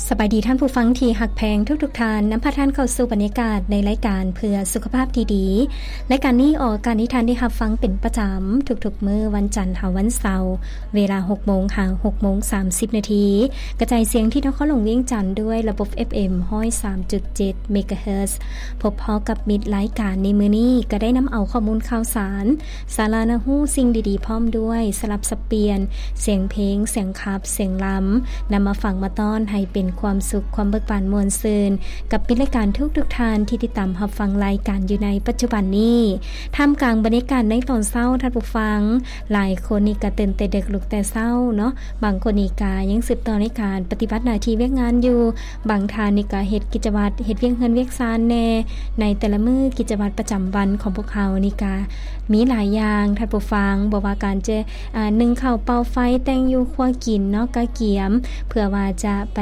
ສະບາຍດີທ່ານຜູ້ຟັງທີ່ຮັກແພງທຸກໆທ່ານ, ນຳພາທ່ານເຂົ້າສູ່ບັນຍາກາດໃນລາຍການເພື່ອສຸຂະພາບທີ່ດີ. ລາຍການນີ້ອອກອາກາດໃຫ້ທ່ານໄດ້ຮັບຟັງເປັນປະຈຳທຸກໆມື້ວັນຈັນຫາວັນເສົາ ເວລາຫົກໂມງຫາຫົກໂມງສາມສິບນາທີ, ກະຈາຍສຽງທີ່ນະຄອນຫຼວງວຽງຈັນດ້ວຍລະບົບ ເອັຟເອັມ ຮ້ອຍສາມຈຸດເຈັດ ເມກາເຮີດ. ພົບພໍ້ກັບມິດລາຍການໃນມື້ນີ້ ກະໄດ້ນຳເອົາຂໍ້ມູນຂ່າວສານ, ສາລະໜ້າຮູ້, ສິ່ງດີໆ ພ້ອມດ້ວຍສະຫຼັບສັບປ່ຽນ ສຽງເພງ, ສຽງຂັບ, ສຽງລຳ ນຳມາຝາກມາຕ້ອນໃຫ້ເປັນຄວາມສຸກ, ຄວາມເບີກບານມ່ວນຊື່ນ ກັບມິດລາຍການທຸກໆທ່ານທີ່ຕິດຕາມຮັບຟັງລາຍການຢູ່ໃນປັດຈຸບັນນີ້. ທ່າມກາງບັນຍາກາດໃນຕອນເຊົ້າ, ທ່ານຜູ້ຟັງ ຫຼາຍຄົນນີ້ກະຕື່ນແຕ່ເດິກລຸກແຕ່ເຊົ້າເນາະ, ບາງຄົນນີ້ກະຍັງສືບຕໍ່ໃນການປະຕິບັດໜ້າທີ່ວຽກງານຢູ່, ບາງທ່ານນີ້ກະເຮັດກິດຈະວັດ, ເຮັດວຽກເຮືອນວຽກຊານແດ່. ໃນແຕ່ລະມື້ກິດຈະວັດປະຈຳວັນຂອງພວກເຮົານີ້ກະມີຫຼາຍຢ່າງ, ທ່ານຜູ້ຟັງ, ບໍ່ວ່າການຈະ ອາ ໜຶ້ງເຂົ້າ, ເປົ່າໄຟ, ແຕ່ງຢູ່, ຄົວກິນເນາະ, ກະກຽມ ເພື່ອວ່າຈະໄປ